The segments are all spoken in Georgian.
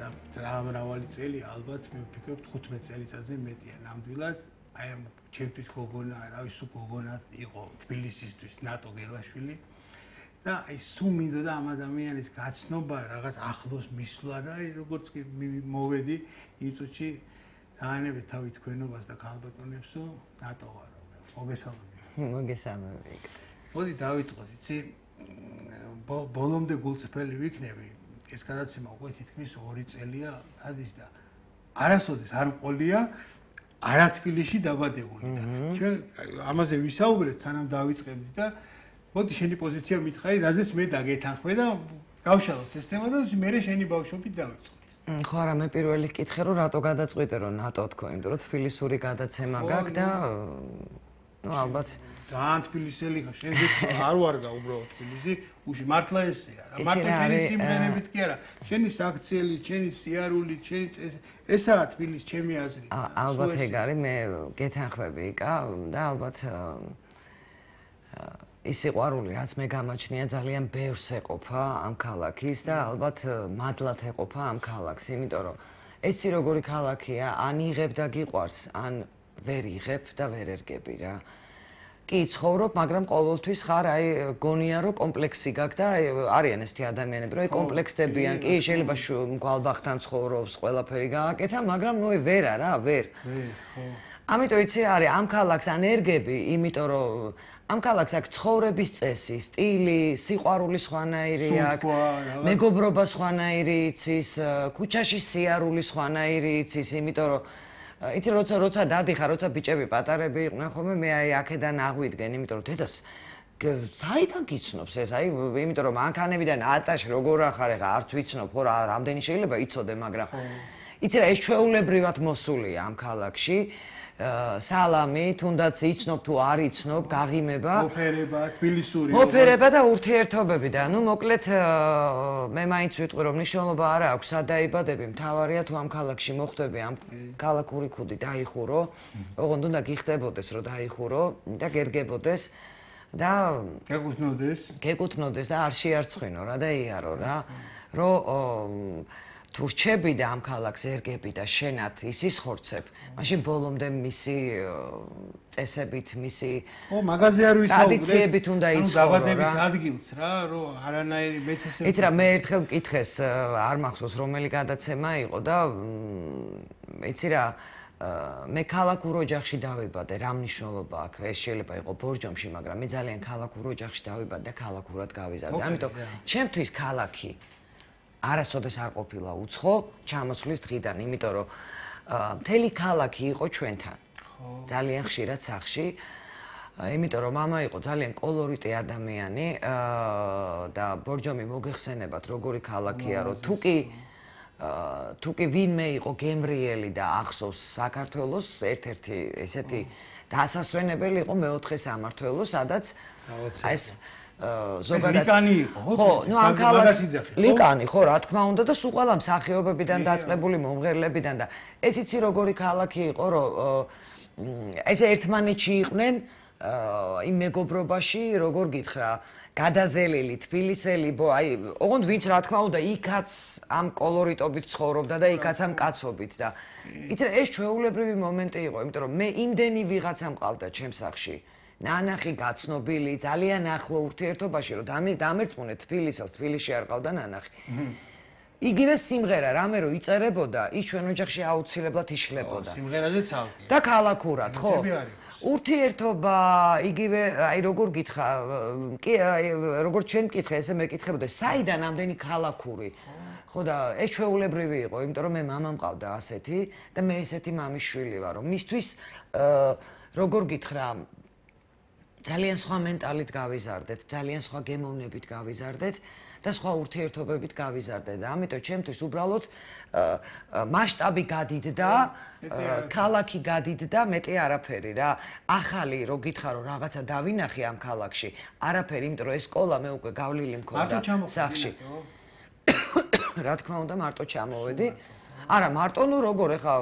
და მრავალი წელი ალბათ მე ვფიქრობ 15 წელიწადზე მეტია ნამდვილად აი ამ ჩემთვის გოგონა რა ვიცი სულ გოგონა იყო თბილისისთვის ნატო გელაშვილი და აი სულ მინდოდა ამ ადამიანის გაცნობა რაღაც ახლოს მისვლა და აი როგორც კი მოვედი იმ წუთში დაანებე თავი თქვენობას და ქალბატონებსო ნატო ვარო მოგესალმები მოდი დავიწყოთ იცი ბოლომდე გულწრფელი ვიქნები ეს გადაცემა უკვე თითქმის 2 წელია გადის და არასოდეს არ მყოლია არა თბილისში დაბადებული და ჩვენ ამაზე ვისაუბრეთ სანამ დავიწყებდი და მოდი შენი პოზიცია მითხარი რაზეც მე დაგეთანხმე და გავშალოთ ეს თემა და მე შენი ბავშვობით დავიწყოთ ხო არა მე პირველი კითხე რომ რატო გადაწყვიტე რომ ნატო თქო იმიტომ რომ თბილისური გადაცემა გაქვს და ნუ ალბათ ძალიან თბილისელი ხარ შენზე არ ვარგა უბრალოდ თბილისი უში მართლა ესეა რა მარტო შენი სიმღერებით კი არა შენი საქციელი შენი სიარული შენი ესაა თბილისი ჩემი აზრით ალბათ ეგ არის მე გეთანხმები იკა და ალბათ ის სიყვარული რაც მე გამაჩნია ძალიან ბევრს ეყოფა ამ ქალაქის და ალბათ მადლად ეყოფა ამ ქალაქს იმიტომ რომ ეს როგორი ქალაქია ან იღებ და გიყვარს ან ვერ იღებ და ვერ ერგები რა კი ცხოვრობ მაგრამ ყოველთვის ხარ აი გონია რომ კომპლექსი გაქვს და არიან ესეთი ადამიანები რომ აი კომპლექსდებიან კი შეიძლება გვალბახთან ცხოვრობს ყველაფერი გააკეთა მაგრამ ნუ ვერა რა ვერ ხო ამიტომ იცი რა არის ამ ქალაქს ან ერგები იმიტომ რომ ამ ქალაქს აქვს ცხოვრების წესი სტილი სიყვარული სხვანაირი აქვს მეგობრობა სხვანაირი იცის ქუჩაში სიარული სხვანაირი იცის იმიტომ რომ იცი როცა დადიხარ როცა ბიჭები პატარები იყვნენ ხოლმე მე აი აქედან აღვიდგენ იმიტომ რომ დედას საიდან გიცნობს ეს აი იმიტომ რომ მანქანებიდან ატაში როგორ ახარ ეხა არც ვიცნობ ხო რა რამდენი შეიძლება იცოდე მაგრამ იცი რა ეს ჩვეულებრივად მოსულია ამ ქალაქში სალამი თუნდაც იცნობ თუ არ იცნობ გაღიმება ოფერება თბილისური ოფერება და ურთიერთობები და ნუ მოკლედ მე მაინც ვიტყვი რომ მნიშვნელობა არ აქვს სადაიბადები მთავარია თუ ამ ქალაქში მოხვდები ამ ქალაქური ქუდი დაიხურო ოღონდ უნდა გიხდებოდეს რომ დაიხურო და გერგებოდეს და გეკუთვნოდეს და არ შეარცხვინო რა და იარო რა რომ თუ რჩები და ამ ქალაქს ერგები და შენად ის ისხორცებ, მაშინ ბოლომდე მისი წესებით, მისი მაგაზე არ ვისაუბრებ. ტრადიციებით უნდა იცხოვრო რა. დაბადების ადგილს რა, რომ არანაირი მეცესები. იცი რა, მე ერთხელ მკითხეს, არ მახსოვს რომელი გადაცემა იყო და იცი რა, მე ქალაქურ ოჯახში დავიბადე, რა მნიშვნელობა აქვს? ეს შეიძლება იყოს ბორჯომში, მაგრამ მე ძალიან ქალაქურ ოჯახში დავიბადე და ქალაქურად გავიზარდე. ამიტომ ჩემთვის ქალაქი არასოდეს არ ყოფილა უცხო ჩამოსვლის დღიდან, იმიტომ რომ მთელი ქალაქი იყო ჩვენთან. ძალიან ხშირად სახში. იმიტომ რომ მამა იყო ძალიან კოლორიტი ადამიანი და ბორჯომი მოგეხსენებათ როგორი ქალაქია, რომ თუ კი ვინმე იყო გემრიელი და ახსოვს საქართველოს ერთ-ერთი ესეთი დასასვენებელი იყო მეოთხე სამმართველო, სადაც ეს ზოგადად ლიკანი იყო ხო, ნუ ამ ქალაქს ლიკანი ხო, რა თქმა უნდა და სულ ყველა მსახიობებიდან დაწყებული მომღერლებიდან და ეს იცი როგორი ქალაქი იყო, რომ ესე ერთმანეთში იყვნენ იმ მეგობრობაში, როგორ გითხრა, გადაზელილი, თბილისელი, აი, ოღონდ ვინც რა თქმა უნდა იქაც ამ კოლორიტობით ცხოვრობდა და იქაც ამ კაცობით და იცი ეს ჩვეულებრივი მომენტი იყო, იმიტომ რომ მე იმდენი ვიღაცა მყავდა ჩემს სახში. ნანახი გაცნობილი, ძალიან ახლო ურთიერთობაში, რომ დამერწმუნე თბილისელს, თბილისში არ ყავდა ნანახი. იგივე სიმღერა, რამე რომ იწერებოდა, ის ჩვენ ოჯახში აუცილებლად იშლებოდა. სიმღერაზე ცალკე. და ქალაქურად, ხო? ურთიერთობა, იგივე, აი როგორ გითხრა, კი, როგორც ჩვენ მკითხე, ესე მეკითხებოდა, საიდან ამდენი ქალაქური? ხო და ეს ჩვეულებრივი იყო, იმიტომ რომ მე მამა მყავდა ასეთი და მე ესეთი მამის შვილი ვარ, რომ მისთვის როგორ გითხრა ძალიან სხვა მენტალით გავიზარდეთ, ძალიან სხვა გემოვნებით გავიზარდეთ და სხვა ურთიერთობებით გავიზარდეთ და ამიტომ ჩემთვის უბრალოდ მასშტაბი გადიდდა, ქალაქი გადიდდა, მეტი არაფერი რა. ახალი რო გითხრა რომ რაღაცა დავინახე ამ ქალაქში, არაფერი, იმიტომ რომ ეს სკოლა მე უკვე გავლილი მქონდა სახში. რა თქმა უნდა, მარტო ჩამოვედი. არა, მარტო ნუ როგორ ეხა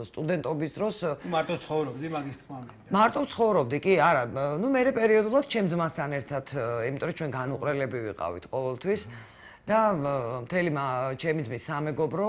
სტუდენტობის დროს მარტო ცხოვრობდი მაგის თქმა მინდა. მარტო ცხოვრობდი, კი, არა, ნუ მე პერიოდულად ჩემ ძმასთან ერთად, იმიტომ რომ ჩვენ განუყრელები ვიყავით ყოველთვის და მთელი ჩემი ძმის სამეგობრო